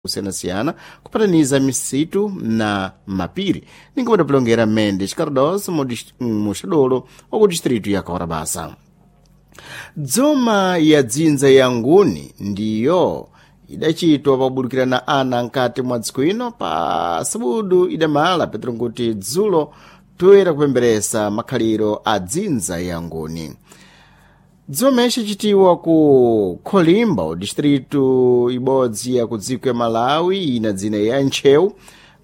Kusiyana-siyana kupataniza misitu na mapiri ninga padapulongera Mendes Cardoso muxadolo wa ku distritu ya Kaurabasa. Dzoma ya dzinza ya nguni ndiyo idacitwa pakubulukirana ana nkati mwa dziko ino pa sabudu idamala petro nkuti dzulo toyera kupemberesa makhaliro a dzinza ya nguni. Dzoma icacitiwa ku Kholimba, distritu ibodzi ya ku dziko ya Malawi ina dzina ya Ntcheu,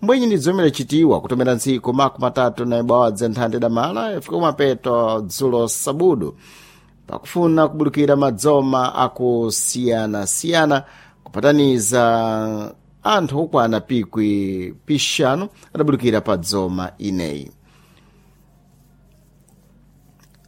mbwenyi ndi dzoma idacitiwa kutomera ntsiku 31 nthanda idamala yafika kumapeto dzulo sabudu pakufuna kubulukira madzoma akusiyana-siyana kupataniza anthu okwana pikwi pixanu adabulukira pa dzoma ineyi.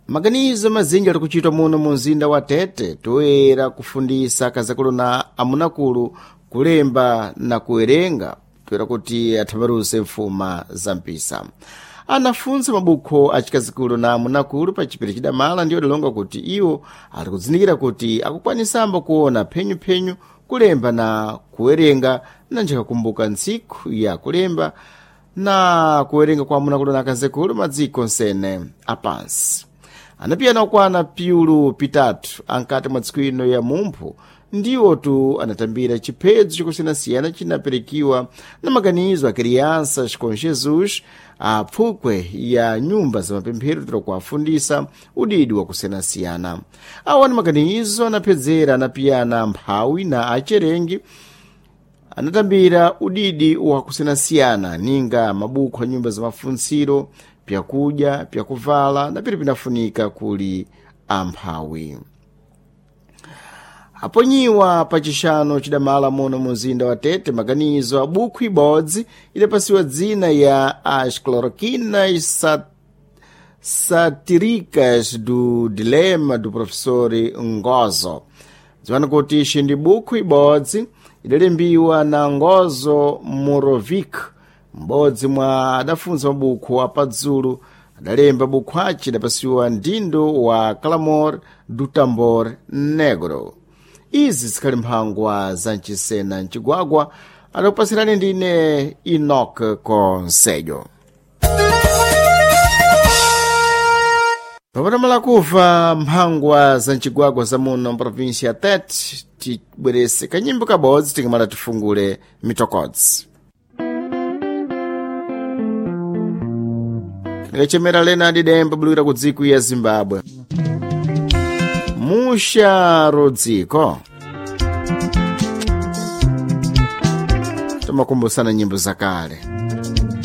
Maganizo mazinji ali kuchitwa muno mu mzinda wa Tete toyera kufundisa akazakulu na amunakulu kulemba na kuwerenga toyera kuti athambaruse mfuma za mpisa. Anafunsa mabukho acikazikulu na amunakulu pa chipiri chidamala ndiyo adalonga kuti iwo ali kuzindikira kuti akukwanisambo kuona phenyuphenyu kulemba na kuwerenga na njikakumbuka ntsiku ya kulemba na kuwerenga kwa amunakulu na akazikulu madziko nsene apansi. Anapiyana okwana piulu pitatu ankati mwa tsiku ino ya mumphu ndiwo tu anatambira chiphedzo chikusiyanasiyana chinaperekiwa na maganizo a crianças com Jesus a pfukwe ya nyumba za mapemphero tira kuafundisa udidi wa kusiyanasiyana. Awa ni maganizo anaphedzera anapiyana mphawi na acherengi anatambira udidi wa kusiyanasiyana ninga mabukho a nyumba za mafuntsiro, pyakudya, pyakuvala na piri pinafunika kuli amphawi. Aponyiwa pa chixano chidamala muno mu mzinda wa Tete maganizo a bukhu ibodzi idapasiwa dzina ya As Cloroquinas Satíricas do Dilema do Professor Ngozo. Dziwani kuti ixi ndi bukhu ibodzi idalembiwa na Ngozo Morovic, m'bodzi mwa adafunsa mabukhu apadzulu adalemba bukhu aci idapasiwa mdindo wa Clamor do Tambor Negro. Izi zikhali mphangwa za mchisena mcigwagwa adakupasirani ndine Enoch Conselho. Papatamala kufa mphangwa za mcigwagwa za muno mprovinsia ya Tete, tibwerese kanyimbo kabodzi tikamala tifungule mitokodzi. Ndikachemera Leonard Demba bulukira ku dziko ya Zimbabwe. Musha Rodziko. Tomakumbusana nyimbo zakale.